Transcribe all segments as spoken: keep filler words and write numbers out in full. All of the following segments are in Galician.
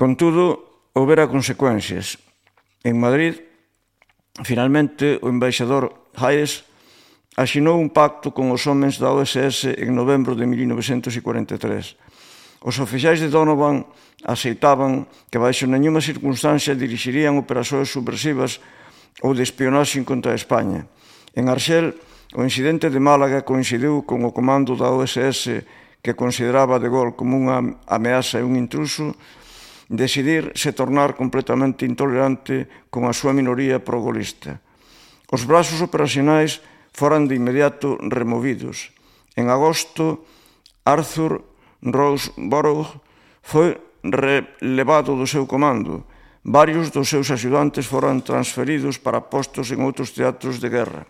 Contudo, houbera consecuencias. En Madrid, finalmente, o embaixador Hayes asinou un pacto con os homens da O S S en novembro de mil novecentos cuarenta e tres. Os oficiais de Donovan aceitaban que baixo nenhuma circunstancia dirixirían operacións subversivas ou de espionaxe contra España. En Arxel, o incidente de Málaga coincidiu con o comando da O S S, que consideraba de Gaulle como unha ameaza e un intruso, decidir se tornar completamente intolerante con a súa minoría pro-golista. Os brazos operacionais foran de inmediato removidos. En agosto, Arthur Roseborough foi relevado do seu comando. Varios dos seus axudantes foran transferidos para postos en outros teatros de guerra.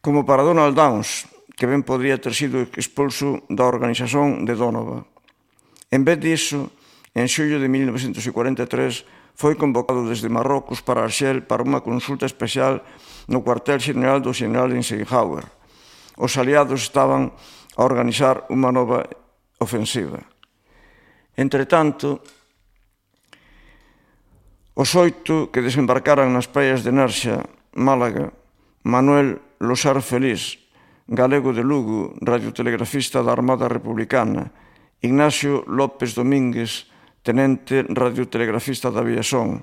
Como para Donald Downes, que ben podría ter sido expulso da organización de Donovan. En vez disso, en xullo de mil novecentos cuarenta e tres, foi convocado desde Marrocos para Arxel para unha consulta especial no cuartel xeneral do xeneral Eisenhower. Os aliados estaban a organizar unha nova ofensiva. Entretanto, os oito que desembarcaran nas praias de Nerxa, Málaga, Manuel Losar Feliz, galego de Lugo, radiotelegrafista da Armada Republicana, Ignacio López Domínguez, tenente radiotelegrafista da Aviación,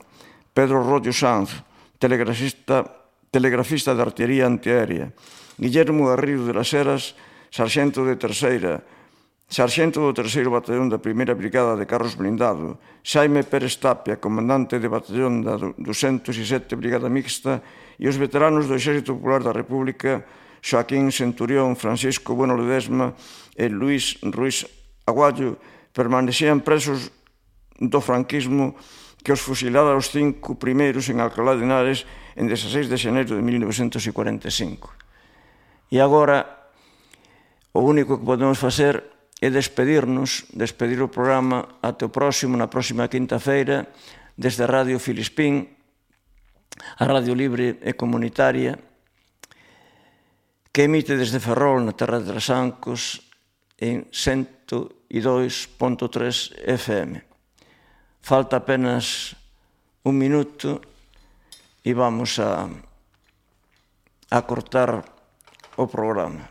Pedro Rollo Sanz, telegrafista, telegrafista de artillería antiaérea, Guillermo Garrido de las Heras, sarxento de terceira, sarxento do terceiro batallón da primeira brigada de carros blindado, Xaime Pérez Tapia, comandante de batallón da ducentos e sete brigada mixta, e os veteranos do Exército Popular da República, Joaquín Centurión, Francisco Bueno Ledesma e Luís Ruiz Aguayo, permanecían presos do franquismo que os fusilara os cinco primeiros en Alcalá de Henares en dezasseis de xaneiro de mil novecentos cuarenta e cinco. E agora, o único que podemos facer é despedirnos, despedir o programa até o próximo, na próxima quinta-feira, desde a Radio Filispín, a Radio Libre e Comunitaria, que emite desde Ferrol, na terra de Trasancos, en cento e dous punto tres F M. Falta apenas un minuto e vamos a, a cortar o programa.